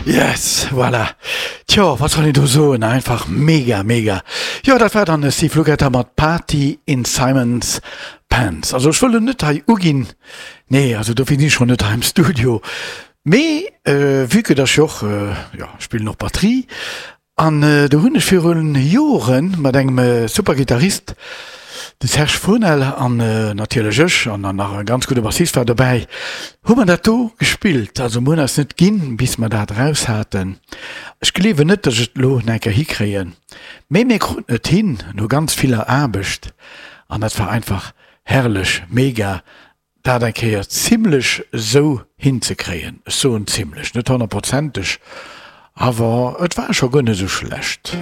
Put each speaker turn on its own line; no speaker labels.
Yes, voilà. Tjo, wat soll een do soen? Einfach mega, mega. Jo, dat war dann de Steve Lukather mat Party in Simon's Pants. Also ech wëll en net hei uginn, nee, also dofir sinn ech schonn net hei am Studio. Mee vue que dass ech jo och, jo, ech spillen och Batterie An do hunn ech virun Joren mat engem super Gittarist, de Serge Fournel, an natierlech ech, an dann nach e ganz gudde Bassist war dobäi, hu mer dat do gespillt. Also mer hunn eis net ginn, bis mer dat eraus haten. Ech gleewen net, datt ech et elo nach eng Kéier hikréien, mee mir kruten et hin, no ganz viller Aarbecht, an dat war einfach herrlech, mega. Dat eng Kéier zimlech esou hinzekréien, ech soen zimlech, net honnertprozenteg, awer et war scho guer net esou schlecht.